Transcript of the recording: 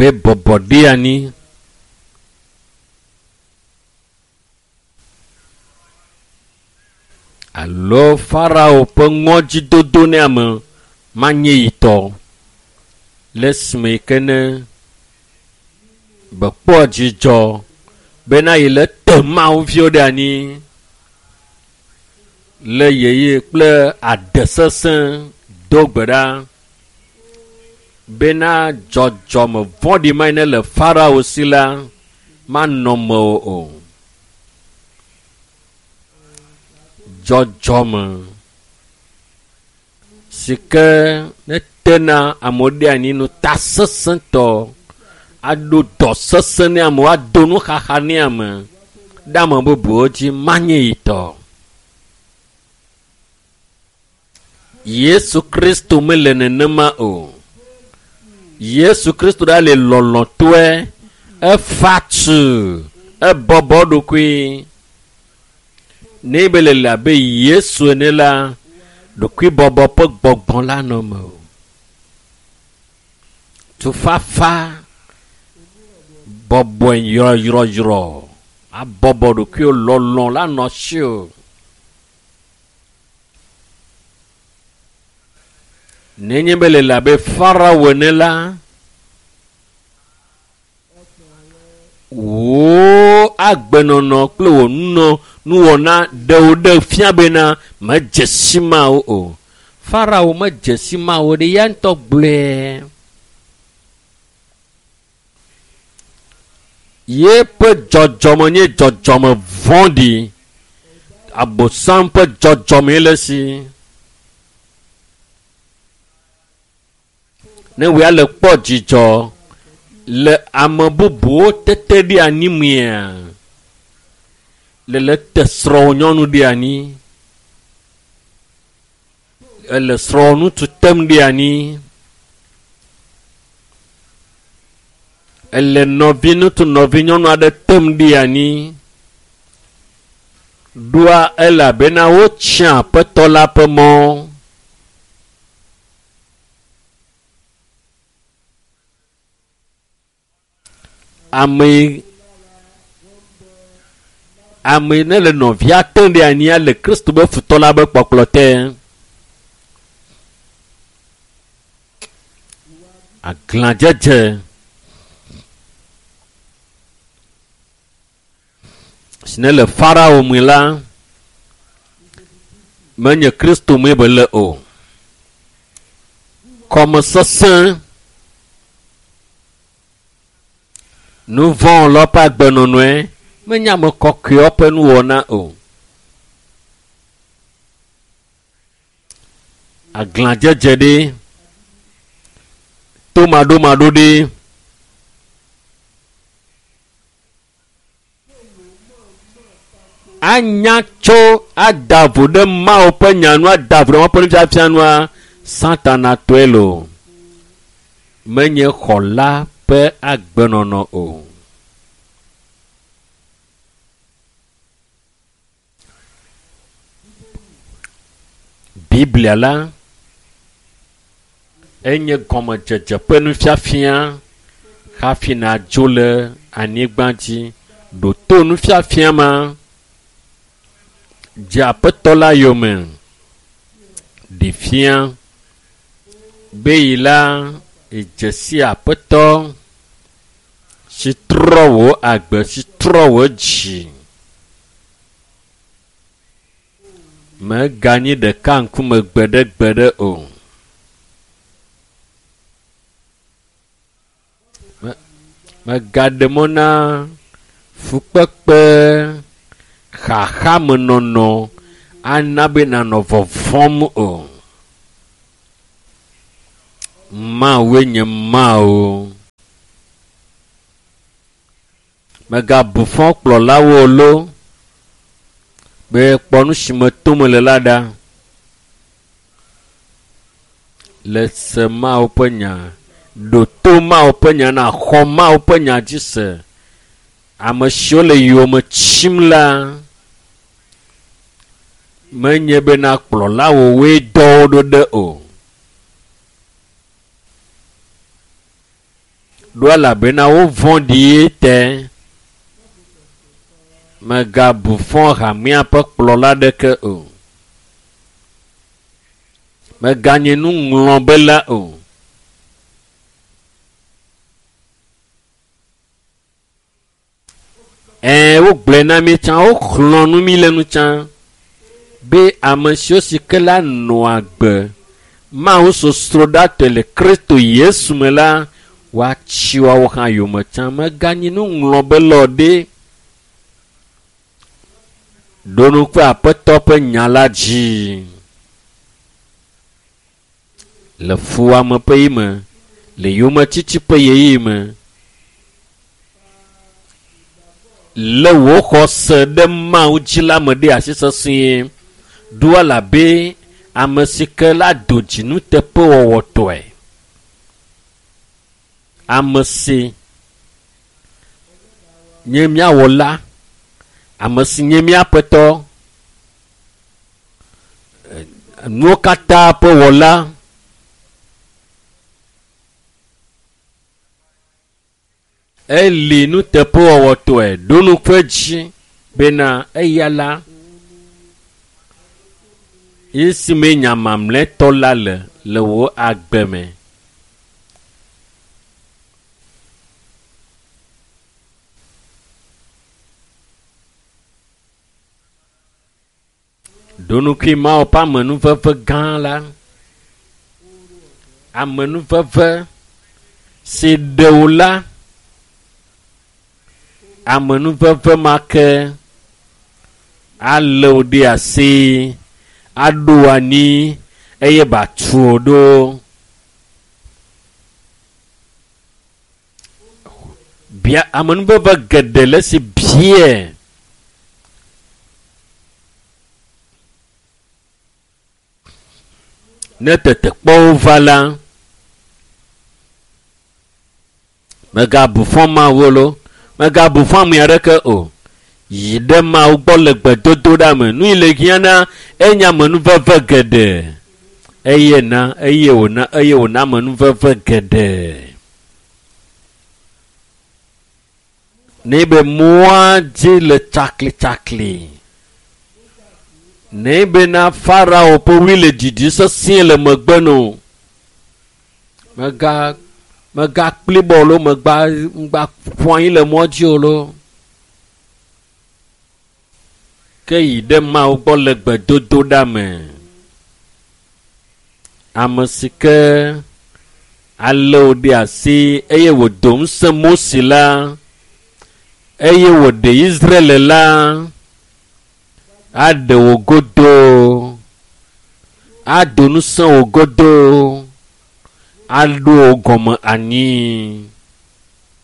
Be bɔbɔ ɖe anyi. Alo Farao ƒe ŋɔdzidodo ne ame manye yi tɔ le esime yi ke ne bekpɔ dzidzɔ bena yi le te Mawu viwo ɖe anyi le yeye kple ade sesẽ do gbe ɖa bena dzɔdzɔme vɔ̃ɖi ma yi ne le Farao si la manɔ mewò o. Dzɔdzɔme si ke netena amewo ɖe anyi ŋutasesẽtɔ aɖo dɔ sesẽ ne amewo ado nuxaxa ne ame ɖe ame bubuwo dzi manye yi tɔ. Yesu Kristo mele nenema o. Yesu Kristo ɖa le lɔlɔ̃tɔe, efa tu, ebɔbɔ eɖokui. Ne be le le abe Yesu ene la, ɖokuibɔbɔ ƒe gbɔgbɔ la nɔ eme o. Tufafa bɔbɔe yrɔyrɔyrɔ abɔbɔ ɖokuiwò lɔlɔ̃ la nɔ asiwò. Nenye be le le abe Farao ene la, wò agbenɔnɔ kple wò nunɔ nuwɔna ɖewo ɖe fia bena medze si Mawu o. Farao medze si Mawu ɖe ya ŋutɔ gblɔe. Yeƒe dzɔdzɔme nye dzɔdzɔme vɔ̃ɖi. Abosam ƒe dzɔdzɔmee le esi. Ne wòya le kpɔ dzidzɔ le ame bubuwo tete ɖe anyi mea, le le te srɔ̃wò nyɔnu ɖe anyi, ele srɔ̃wò ŋutsu tem ɖe anyi, ele nɔvi ŋutsu nɔvi nyɔnu aɖe tem ɖe anyi. Ɖoa elabena wotsia Aƒetɔ la ƒe mɔ. Ame ame ne le nɔvia tem ɖe anyia le Kristo be futɔ la be kpɔkplɔ te. Aglãdzedze. Si ne le Farao me la, menye Kristo mee be le o. Kɔmesesẽ, nu vɔ̃ lɔ ƒe agbenɔnɔe menye ame kɔkɔewo ƒe nuwɔna o. Aglãdzedze ɖe, tomaɖomaɖo ɖe. Anya tso ada vo ɖe Mawu ƒe nya nu, ada vo ɖe Mawu ƒe nufiafia nua, Satana tɔe loo. Menye xɔla ƒe agbenɔnɔ o. Biblia la enye gɔmedzedze ƒe nufiafia hafi nàdzo le anyigba dzi. Ɖo to nufiafia ma. Dze Aƒetɔ la yome. Ɖi fia be yi la edze si Aƒetɔ si trɔ wò agbe, si trɔ wò dzi. Mèganyi ɖeka ŋkume gbeɖegbeɖe o. Mègaɖe mɔ na fukpekpe, xaxamenɔnɔ ana be nànɔ vɔvɔ̃m o. Mawue nye Mawu. Mègabu fɔ kplɔlawo o loo be kpɔ nu si me tom mele la ɖa. Le se Mawu ƒe nya, ɖo to Mawu ƒe nya nàxɔ Mawu ƒe nya dzi se. Ame siwo le yowòme tsim la, menye bena kplɔlawowoe dɔ wo ɖo ɖe o. Ɖo elabena wovɔ̃ɖie te. Mègabu fɔ hamea ƒe kplɔla aɖeke o. Mèganye nuŋlɔbela o. Ɛ̃, wogblɔe na mí tsã, woxlɔ̃ nu mí le nu tsã be ame siwo si ke la nɔa agbe Mawu sosroɖatɔe le Kristo Yesu me la, woatsi woawo hã yome tsã. Mèganyi nuŋlɔbela o ɖe. Ɖo ŋku Aƒetɔ ƒe nya la dzi le fuwɔame ƒe ɣeyiɣi me, le yometiti ƒe ɣeyiɣi me. Lé wò xɔse ɖe Mawu dzi la me ɖe asi sesĩe. Ɖo elabe ame si ke la do dzi nuteƒewɔwɔtɔe. Ame si nye mía Wɔla, ame si nye mía Aƒetɔ, nuwo katã ƒe Wɔla. Eli nuteƒewɔwɔtɔe ɖo ŋku edzi bena eya la esime nya mamlɛtɔ la le le wò agbe me. Ɖo ŋkui Mawu ƒe amenuveve gã la. Amenuveve si ɖe wò la, amenuveve ma ke alé wò ɖe asi, aɖo wò anyi eye batu wò ɖo. Bia amenuveve geɖe le esi biae. Ne tetekpɔwo va la, mègabu fɔ Mawu loo, mègabu fɔ ame aɖeke o. Yi ɖe Mawu gbɔ le gbedodoɖa me. Nu yi le hiã na enye amenuveve geɖe. Eye na, eye wòna, eye wòna amenuveve geɖe. Ne be mɔa dzi le tsaklitsakli. Ne bena Farao ƒe ɣli le didi sesĩe le megbe no. Mega mega kplibɔ lo megba ŋgba ƒu anyi le mɔ dzi o lo. Ke yi ɖe Mawu gbɔ le gbedodoɖa me. Ame si ke alé wò ɖe asi eye wòdo ŋusẽ Mose la eye wòɖe Israel la aɖe wò godoo, ado ŋusẽ wò godoo, aɖo wò gɔme anyi.